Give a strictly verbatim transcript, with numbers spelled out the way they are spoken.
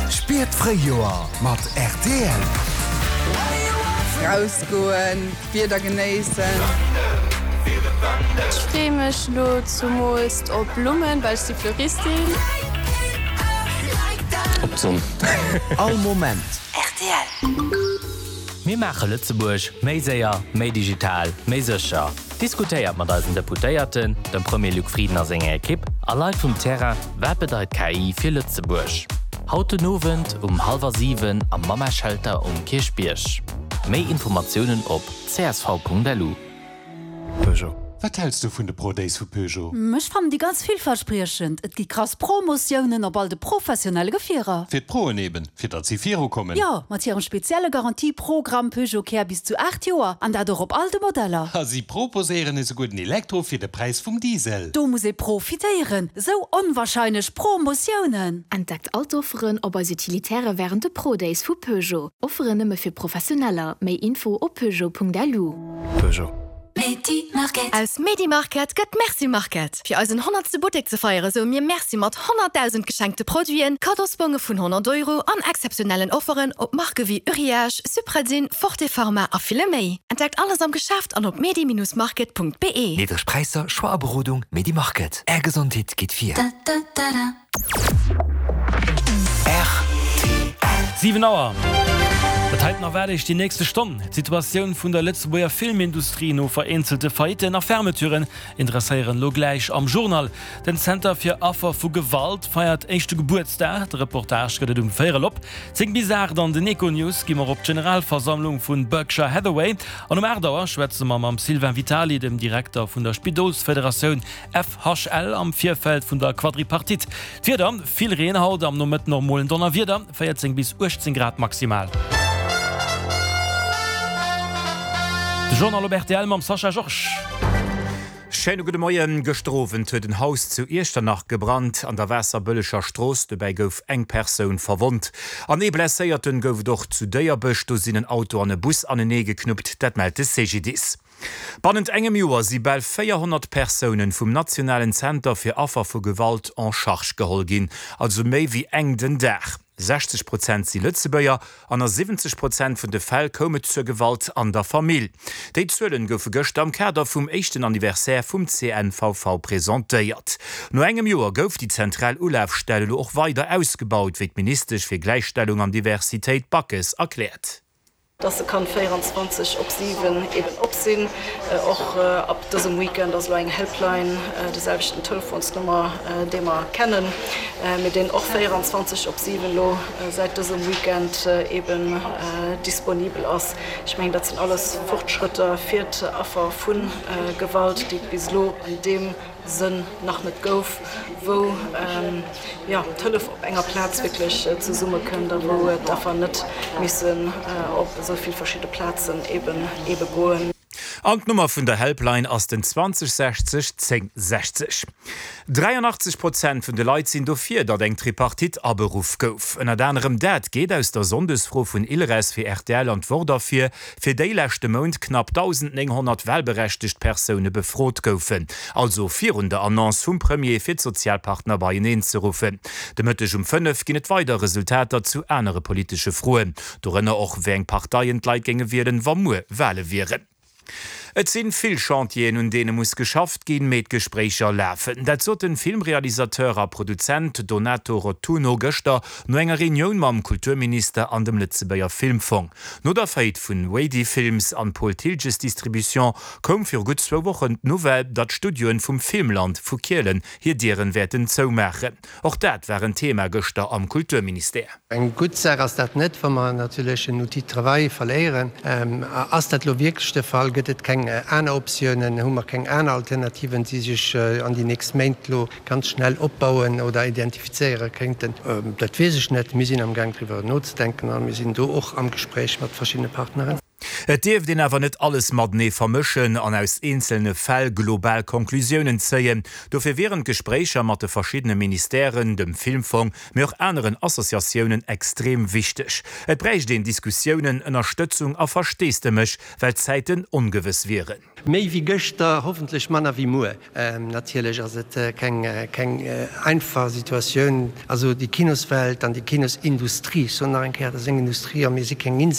Spier d'Fréijoer mat rtl. Rausgoen, d'Wieder genéissen. Ech freeë mech lo zumools op Blummen, well ech si Fleuristin. Op d'Sonn. All Moment. Rtl. Mir maache Lëtzebuerg méi séier, méi digital, méi sécher. Diskutéiert mat eisen Deputéierten, dem Premier Luc Frieden a senger Ekipp a Leit vum Terrain, wat bedeit K I fir Lëtzebuerg? Haut den Owend um hallwer siwen am Mamma-Shelter um Kierchbierg. Méi Informatiounen op C S V Punkt L U. Peugeot. Wat häls du vun de Pro Days vu Peugeot? Ech fannen déi ganz villverspriechend. Et gi krass Promotiounen op all de professionelle Gefierer. Fir d'Proen eben, fir datt si virukommen. Jo, mat hirem spezielle Garantieprogramm Peugeot Care bis zu aacht Joer an dat och op all de Modeller. A si proposéieren esouguer den Elektro fir de Präis vum Diesel. Do muss ee profitéieren. Sou onwahrscheinlech Promotiounen. Entdeckt all d'Offeren op eis Utilitäre wärend de Pro Days vu Peugeot. Offeren nëmme fir Professioneller. Méi Info op peugeot Punkt L U. Peugeot. Aus Medimarket gëtt Merci Market. Fir eisen honnertste Buttek ze feiere soe mir Merci mat honnertdausend geschenkte Produiten, Kaddosbonge vun honnert Euro an exzeptionellen Offeren op Marke wéi Uriage, Supradyn, Forte Pharma a ville méi. Entdeckt alles am Geschäft an op medi Bindestrich market Punkt be. Niddreg Präisser, Choix a Berodung, Medimarket. Är Gesondheet geet vir. Siwen Auer. Dat heiten erwaart Iech déi nächste Stonn. D'Situatioun vun der Lëtzebuerger Filmindustrie no vereenzelte Faillitten a Fermeturen interesséieren elo gläich am Journal. Den Zenter fir Affer vu Gewalt feiert éischte Gebuertsdag. De Reportage gëtt et um véierel op zéng. Bis aacht an den Econews gi mer op d'Generalversammlung vun Berkshire Hathaway. An um aacht Auer schwätze mer mam Sylvain Vitali, dem Direkter vun der Spidolsfederatioun F H L am Virfeld vun der Quadripartite. D'Wieder, Vill Reen haut, am Nomëtten och mol en Donnerwieder, véierzéng bis uechtzéng Grad maximal. De Journal op R T L mam Sascha Georges. Schéine gudde Moien. Gëschter Owend huet en Haus zu Iechternach gebrannt an der Waasserbëlleger Strooss. Dobäi gouf eng Persoun verwonnt. An ee Blesséierten gouf et och zu Déierbech. Do sinn en Auto an e Bus anenee geknuppt, dat mellt de C G D I S. Bannent engem Joer si bal véierhonnert Persounen vum nationalen Zenter fir Affer vu Gewalt en charge geholl ginn, also méi wéi eng den Dag. sechzeg Prozent si Lëtzebuerger an a siwwenzeg Prozent vun de Fäll koum et zur Gewalt an der Famill. Déi Zuelen goufe gëschter am Kader vum éischten Anniversaire vum C N V V presentéiert. No engem Joer gouf déi zentral Ulafstell elo och weider ausgebaut, wéi d'Ministesch fir Gläichstellung an Diversitéit Backes erkläert. Dass se kann véierenzwanzeg op siwen eben op sinn. Och ab dësem Weekend ass elo eng Helpline, de selwechten Telefonsnummer, dee mer kennen, mee deen och véierenzwanzeg op siwen elo säit dësem Weekend eben disponibel ass. Ech mengen, dat sinn alles Fortschrëtter fir d'Affer vu Gewalt, déi et bis elo an deem Sënn nach net gouf, wou jo d'Hëllef op enger Plaz wierklech zesummekënnt a wou d'Affer net missen op esou vill verschidde Plazen eben ebe goen. An d'Nummer vun der Helpline ass den zwanzeg sechzeg zéng sechzeg. dräianachtzeg Prozent vun de Leit sinn dofir, datt eng Tripartite aberuff gouf. Ënnert anerem dat geet aus der Sonndesfro vun Ilres fir R T L an d'Wort ervir, fir déi leschte Mount knapp dausendnénghonnert walberechtegt Persoune befrot goufen. Also virun der Annonce vum Premier fir d'Sozialpartner beieneen ze ruffen. De Mëtteg um fënnef ginn et weider Resultater zu anere politesche Froen, dorënner och wéi eng Parteien d'Leit géinge wielen, wa muer Wale wieren. Et sinn vill Chantieren, un deene muss geschafft ginn, mee d'Gespréicher lafen. Dat sot de Filmrealisateur a Produzent Donato Rotunno gëschter no enger Reunioun mam Kulturminister an dem Lëtzebuerger Filmfong. No der Faillite vun Wady Films an Paul Thiltges Distribution koum viru gutt zwou Wochen d'Nouvelle, datt d'Studioen vum Filmland vu Kielen hir Dieren wäerten zoumaachen. Och dat war en Thema gëschter am Kulturministère. Eng gutt Saach ass dat net, wa mer natierlech en Outil de travail verléieren. Ass dat elo wierklech de Fall? Gëtt et keng aner Optiounen? Hu mer keng aner Alternativen, déi sech an déi nächst Méint elo ganz schnell opbauen oder identifizéiere kéinten? Dat weess ech net. Mir sinn amgaang driwwer nozedenken a mir sinn do och am Gespréich mat verschiddene Partneren. Et dierft een awer net alles matenee vermëschen an aus eenzelne Fäll global Conclusiounen zéien. Dofir wieren d'Gespréicher mat de verschiddene Ministèren, dem Filmfong, mee och aneren Associatiounen extrem wichteg. Et bräicht een Diskussiounen, Ënnerstëtzung a Versteesdemech, well d'Zäiten ongewëss wieren. Méi wéi gëschter, hoffentlech manner wéi muer. Natierlech ass et keng keng einfach Situatioun. Also déi Kinoswelt an déi Kinosindustrie, ech soen nach eng Kéier, dat ass eng Industrie a mir si keng Insel,